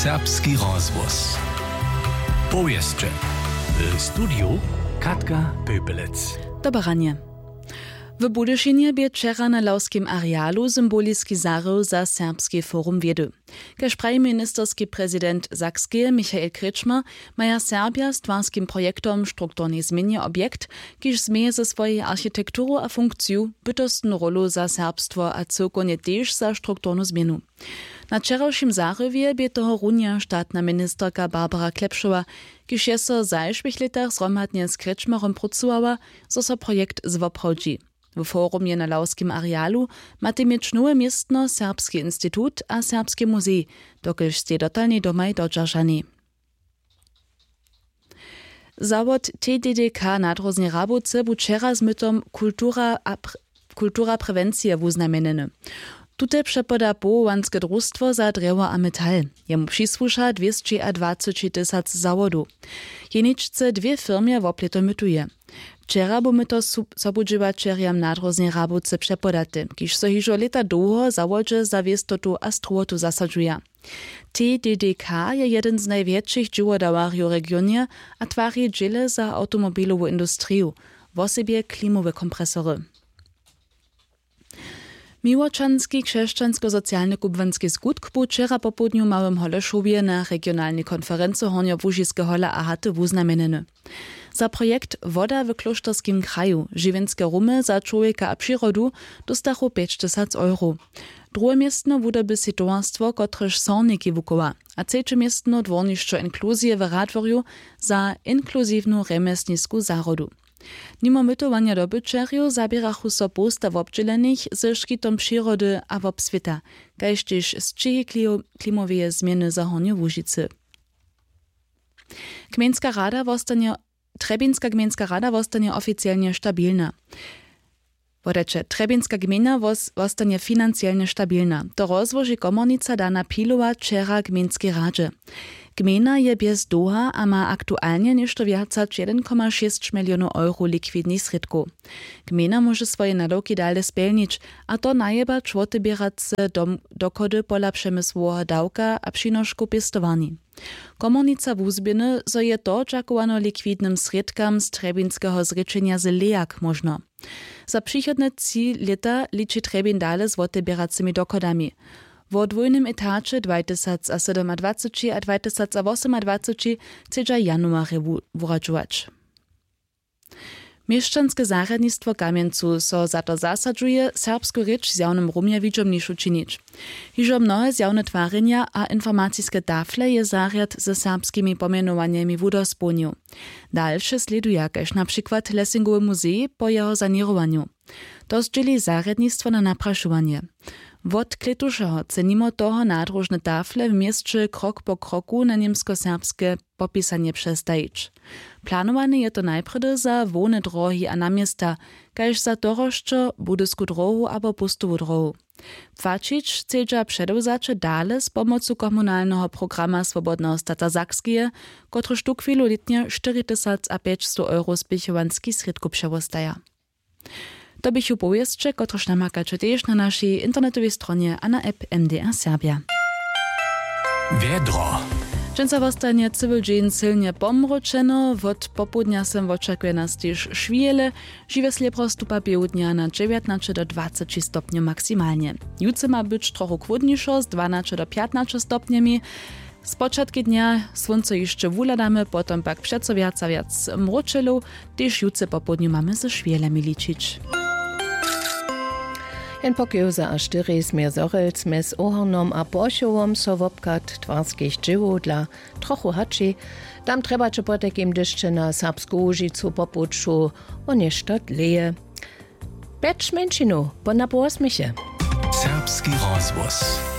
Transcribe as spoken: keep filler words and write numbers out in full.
Serbski rozhłos. Powěsće. W studiju Katka Pöpelec. Dobre ranje. W Budyšinje bě wčera na lawskim arealu symboliski zahrył za Serbski forum wědy. Kaž praji ministerski prezident Sakskeje Michael Kretschmer, maja Serbja z twarskim projektom strukturnej změnje objekt, kiž změje ze swojej architekturu a funkciju, bytostnu rólu za serbstwo a cyłkownje tež za strukturnu změnu. Na wčerawšim zahriwje bě toho runja štatna ministerka Barbara Klepšowa, kiž je so w zašłych lětach zhromadnje z Kretschmerom prócowała, zo so projekt zwoprawdźi. W forumje na lawskim arealu matej měć nowe městno Serbski institut a Serbski muzej, dokelž stej dotalnej domaj dodźeržanej. Zawod T D D K na Dróznej Rabowce bu wčera z mytom kultura a pr-, kultura prewencije wuznamjenjeny. Tute přepoda powołanske drustwo za drjewo a metal. Jemu přisłuša dwěsćiadwaceći tysac zawodow. Jeničce dwě firmje woplěto mytuje. Wčera bu myto su-, sobudźěłaćerjam na Dróznej Rabowce přepodate, kiž so hižo lěta dołho zawodźe za wěstotu a strowotu zasadźuja. T D D K je jedyn z najwjetšich dźěłodawarjow w regionje a twari dźěle za awtomobilowu industriju, wosebje klimowe kompresory. Miłočanski křesćansko-socialny kubłanski skutk bu wčera popołdnju w Małym Holešowje na regionalnej konferency Hornjołužiske hola a haty wuznamjenjeny. Za projekt Woda w klóšterskim kraju, žiwjenske rumy za čłowjeka a přirodu, dóstachu pjećtysac euro. Druhe městno wudoby sej towarstwo, kotrež sorniki wuchowa, a třeće městno dwórnišćo inkluzije w Radworju za inkluziwnu rjemjesnisku zahrodu. Nimo mytowanja dobyćerjow zaběrachu so połsta wobdźělenych ze škitom přirody a wobswěta, kaž tež sćěhi klio-, klimoweje změny za Hornju Łužicy. Gmejnska rada wostanje, Trjebinska gmejnska rada wostanje oficielnje stabilna. Wodajće, Trjebinska gmejna wos-, wostanje financielnje stabilna. To rozłoži komornica Dana Pilowa wčera gmejnskej radźe. Gmejna je bjez dołha a ma aktualnje něšto wjac hač jedyn koma šěsć milionow euro likwidnych srědkow. Gmejna móže swoje nadawki dale spjelnić, a to najebać woteběrace dom-, dochody pola přemysłoweho dawka a přinoškow pěstowarni. Komornica wuzběhny, zo je to dźakowano likwidnym srědkam z trjebinskeho zrěčenja z lejak móžno. Za přichodne tři lěta liči Trjebin dale z woteběracymi dochodami. Wo dwójnym etaće dwajtysacasydomadwaceći a dwajtysacawosomadwaceći chcedźa w januarje wu-, wuradźować. Měšćanske zarjadnistwo w Kamjencu so za to zasadźuje, serbsku rěč w zjawnym rumje widźomnišu činić. Hižo mnohe zjawne twarjenja a informaciske tafle je zarjad ze serbskimi pomjenowanjemi wudospołnił. Dalše slěduja, kaž na přikład Lessingowy muzej po jeho saněrowanju. To zdźěli zarjadnistwo na naprašowanje. Wot klětušeho chce nimo toho nadróžne tafle w měsće krok po kroku na němskoserbske popisanje přestajić. Planowany je to najprjedy za hłowne dróhi a naměsta, kaž za Torosćo, Budysku dróhu abo Póstowu dróhu. Płaćić chcedźa předewzaće dale z pomocu komunalneho programa Swobodneho stata Sakskeje, kotryž tuchwilu lětnje štyri tysac a pjećstow euro spěchowanskich srědkow přewostaja. To běchu powěsće, kotrež namakaće tež na našej internetowej stronje a na app M D R Serbja. Wjedro. Dźensa wostanje cyły dźeń sylnje pomróčeno, wot popołdnja sym wočakuje nas tež šwihele, žiwe slěbro stupa běhu dnja na dźewjatnaće do dwaceći stopnjow maksimalnje. Jutře ma być trochu chłódnišo z dwanaće do pjatnaće stopnjemi. Spočatki dnja słónco hišće wuhladamy, potom pak přeco wjac a wjac mróčelow, tež jutře popołdnju mamy ze šwělemi ličić. Jen po kewze a štyri směr zhorjelc mjez Ohornom a Porchowom so wobchad twarskich dźěłow dla trochu hači. Tam trjebaće potajkim dyšće na Serbsku Łužicu po puću wo něšto dlěje. Pjeć mjeńšinow po napołosměche. Serbski rozhłos.